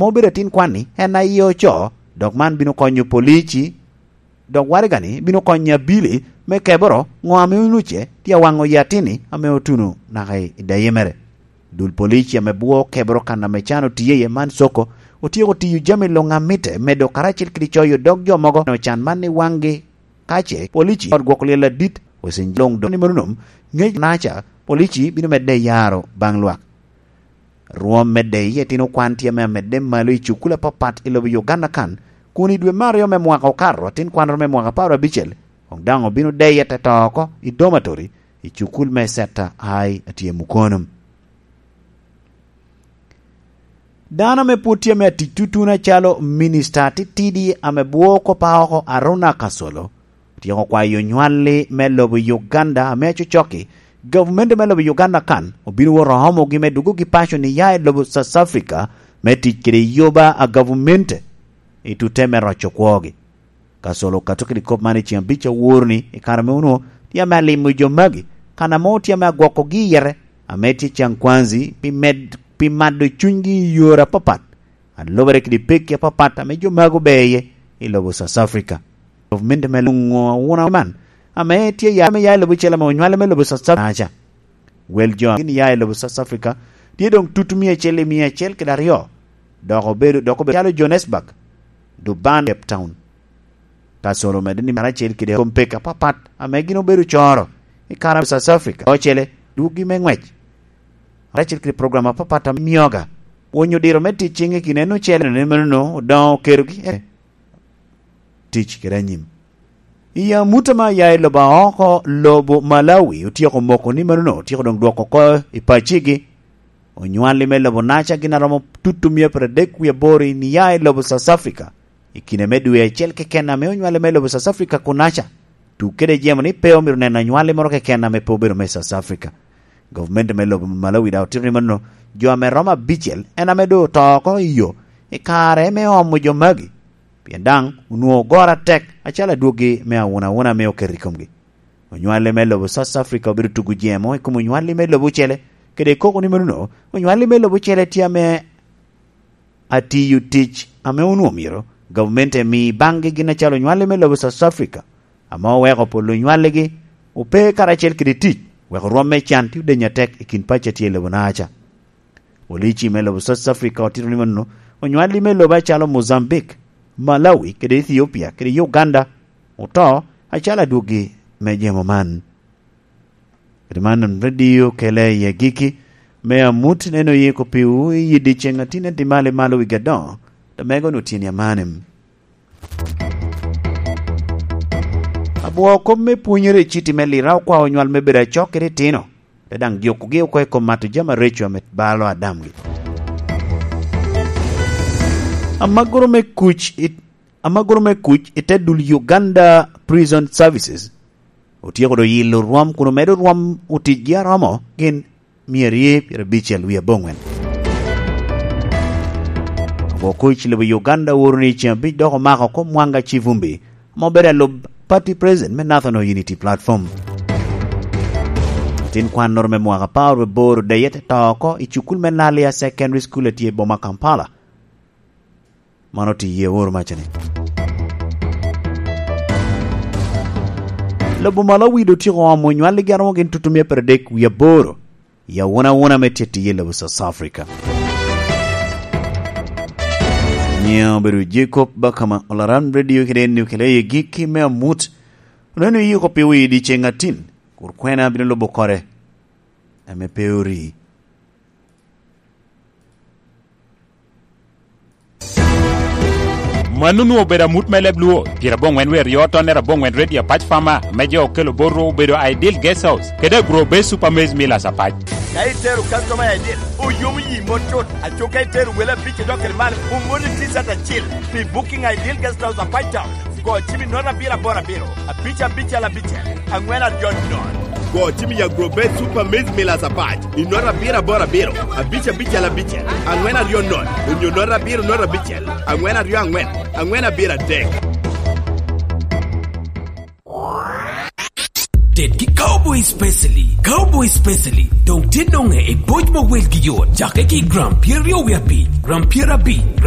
Ma obedo atin kwan-ni, en aye oco, dok man bino konyo polici, dok waraga-ni bino konyo abili me keboro ngo ame onuce tye awango i atin-ni ame otuno naka i daye mere. Dul polici ame bwo keboro kan ame can otiye iye man Soko otyeko tiyo jami long amite medo karacel kidi coyo dog jo mogo no can man ni wanggi kace polici ot gwoko lyel ladit osin long dong ni meno nom ngec naca polici bino medde yaro bang lwak. Rwom me deyi etino kwan tye me amedde malo i cukul apapat i lobo Uganda kan, kun i dwe me aryo me mwaka okato, atin kwan romo me mwaka 15 kong dang obino deye te to oko i dormitory i cukul me Seta High atye Mukono. Dano me pwod tye me atic tutuna calo minista titidi ame bwo kopa oko Aruna Kasolo Otyeko kwayo nywalli me lobo Uganda ame acocoki gavumenti me lobo Uganda kan obino wot ohomogi me dugogi paco niya i lobo South Africa me tic kede yuba a gavumenti i tute me roco kwogi. Kasolo okato kede kop man i ceng abic awor-ni i kare me onongo tye me alimo jo magi kana mo tye me agwokogi iyete ame tye Kyankwanzi pi med pi mado cwinygi i yore apapat alubere kede pekki apapat ame jo magi ober iye i lobo South Africa. Gavumenti me lungo auna man ame tye ya me ya i lobo cel ame onywale me lobo South Africa. Wel jo gin ya i lobo South Africa tye dong tutu miya acel i 102 dok obedo dok obedo calo Johannesburg, Durban, Cape Town. Kasolo omedde ni karacel kede kom pek apapat ame gin obedo coro i kare South Africa ocele dwogi me ngwec karacel kede program apapat ame miyoga pwonyo diro me tic cing i kine nocele ni meno odongo oketo gi tic kede anyim. I amuta ma ya i lobo aoko, lobo Malawi otyeko moko ni meno nongo otyeko dong dwoko oko i pacigi. Onywali me lobo Naca gin aromo tutu miya pradek wiye aboro i niya i lobo South Africa. I kine me dwe acel keken ame onywali me lobo South Africa ku Naca tug kede jemo ni pe omito neno anywali moro keken ame pe obedo me South Africa. Gavumenti me lobo Malawi dok otito ni meno jo ame romo abicel en ame dong oto oko i yo i kare me omo jo magi. Pien dang onwongo goro atek acalo adwogi me aunauna me oketo i komgi. Onywali me lobo South Africa obedo tugo jemo i kom onywali me lobo ocele kede koko ni meno onywali me lobo ocele tye ame atiyo tic ame onwongo myero gavmente mi banggi gin acalo onywali me lobo South Africa ame oweko pol lunywaligi ope karacel kede tic weko rwom me can tye odeny atek i kin paci atye i lobo Naca. Polici me lobo South Africa otito ni meno onywali me lobe acalo Mozambique, Malawi kede Ethiopia kede Uganda oto acalo adwogi me jemo man. Kede man radio kele i agikki me amut neno yiko piwu i yidi ceng atine dimali malo wi gadongo lamego ni otyeni amane. Abwo kop me pwonyere i citi me lira okwao nywal me bedo acok kede tino. Pe dang jukogi oko i kom mato jami mareco ame balo adamgi. Amagoro me kuc i Amagoro me kuc i te dul Uganda Prison Services otyeko do yilo rwom kun omedo rwom oticgi aromo gin myerye pyerabicel wiye abongwen. Ogwo kuc lobo Uganda oworo ni ceng abic dok omako kom Mwanga Civumbi ma obedo alub party president me National Unity Platform. Latin kwan noro me mwaka 18 odeye te to oko i cukul me Nalia Secondary School atye i boma Kampala. Mano tye iye oro maca ni. Lobo Malawi do otyeko omo nywalli gi aromo gin tutumia pradek wiye aboro i aunauna me tye iye lobo South Africa. Nyinga obedo Jacob Bakama Olaran Radio kede eni okele iye gikki me amut. Oneno iyiko pi wi dyeceng atin kur kwena bino lubo kore ame pe ori. Manunu obedo amut me leb Luo, pyerabongwen wiye aryo tonne rabongwen Radio Apac Farmer me jo okelo botwu obedo Ideal Guest House kede Agro Base Super Maize Millers Apac. Ka itero kastoma i Ideal, oyomo yi mot cut. Aco ka itero wel abic idok kede malo, omoti T-shirt acel. Pi booking Ideal Guest House Apac Town, go cim i note abiro aboro abiro, abic abicel abicel, angwen aryo not. Go cim i Agrobet Super Maize Millers Apac i note abiro aboro abiro, abic abicel abicel, angwen aryo not, onyo note abiro note abicel, angwen aryo angwen, angwen abiro adek. Ted ki Cowboy Specially. Cowboy Specially dong tye nonge i boc ma welgi yot cakke ki i gram pyeraryo wiye abic, gram pyerabic, gram.